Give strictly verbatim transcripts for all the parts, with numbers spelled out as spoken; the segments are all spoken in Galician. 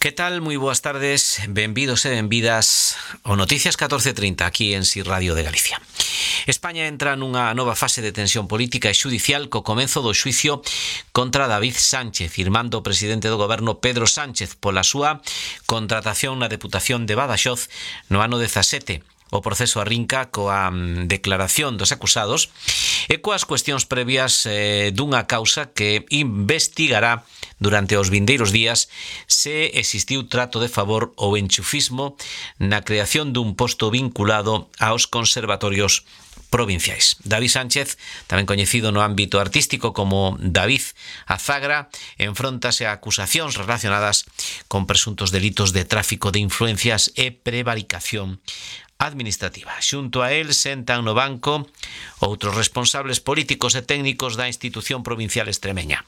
Que tal? Moi boas tardes, benvidos e benvidas ao Noticias catorce trinta aquí en Si Radio de Galicia. España entra nunha nova fase de tensión política e xudicial co comenzo do xuicio contra David Sánchez, firmando o presidente do goberno Pedro Sánchez pola súa contratación na Deputación de Badaxoz no ano dezasete. O proceso arrinca coa declaración dos acusados e coas cuestións previas eh, dunha causa que investigará durante os vindeiros días se existiu trato de favor ou enchufismo na creación dun posto vinculado aos conservatorios provinciais. David Sánchez, tamén coñecido no ámbito artístico como David Azagra, enfróntase a acusacións relacionadas con presuntos delitos de tráfico de influencias e prevaricación administrativa. Xunto a él sentan no banco outros responsables políticos e técnicos da institución provincial extremeña.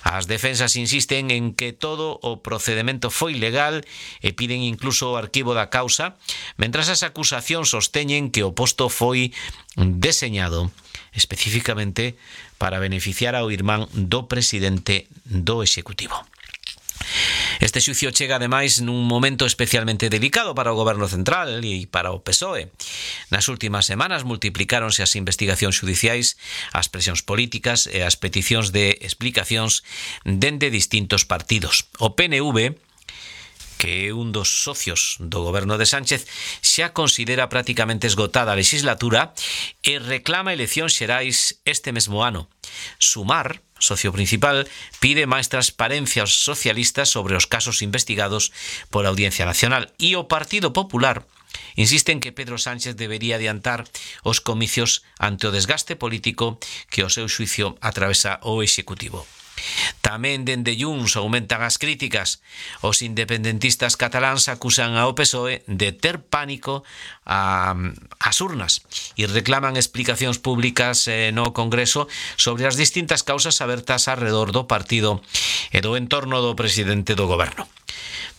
As defensas insisten en que todo o procedimento foi legal e piden incluso o arquivo da causa, mentras as acusacións sosteñen que o posto foi deseñado especificamente para beneficiar ao irmán do presidente do Executivo. Este xuicio chega ademais nun momento especialmente delicado para o goberno central e para o P S O E. Nas últimas semanas multiplicáronse as investigacións xudiciais, as presións políticas e as peticións de explicacións dende distintos partidos. O P N V, que é un dos socios do goberno de Sánchez, xa considera prácticamente esgotada a legislatura e reclama eleccións xerais este mesmo ano. Sumar, socio principal, pide máis transparencia aos socialistas sobre os casos investigados pola Audiencia Nacional e o Partido Popular insiste en que Pedro Sánchez debería adiantar os comicios ante o desgaste político que o seu xuicio atravesa o Executivo. Tamén dende Junts aumentan as críticas. Os independentistas cataláns acusan ao P S O E de ter pánico a, as urnas e reclaman explicacións públicas eh, no Congreso sobre as distintas causas abertas alrededor do partido e do entorno do presidente do goberno.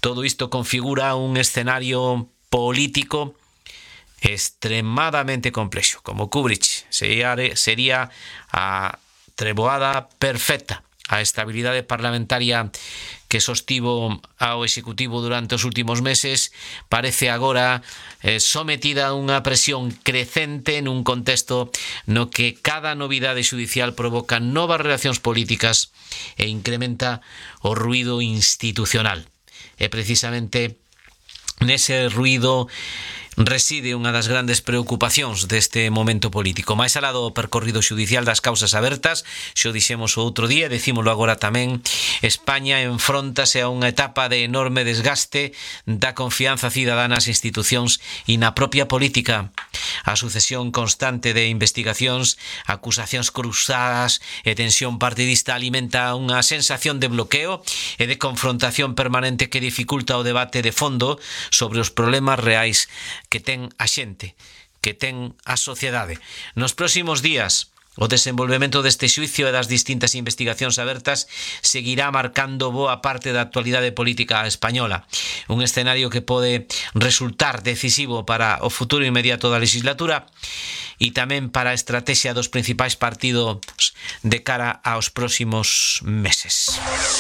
Todo isto configura un escenario político extremadamente complexo. Como Kubrick, sería, sería a treboada perfecta. A estabilidade parlamentaria que sostivo ao Executivo durante os últimos meses parece agora eh, sometida a unha presión crecente nun contexto no que cada novidade xudicial provoca novas relacións políticas e incrementa o ruído institucional. E precisamente nese ruído reside unha das grandes preocupacións deste momento político. Máis alá do percorrido xudicial das causas abertas, xo dixemos o outro día, decímolo agora tamén, España enfróntase a unha etapa de enorme desgaste da confianza cidadana nas institucións e na propia política. A sucesión constante de investigacións, acusacións cruzadas e tensión partidista alimenta unha sensación de bloqueo e de confrontación permanente que dificulta o debate de fondo sobre os problemas reais que ten a xente, que ten a sociedade. Nos próximos días, o desenvolvemento deste xuicio e das distintas investigacións abertas seguirá marcando boa parte da actualidade política española. Un escenario que pode resultar decisivo para o futuro inmediato da legislatura e tamén para a estrategia dos principais partidos de cara aos próximos meses.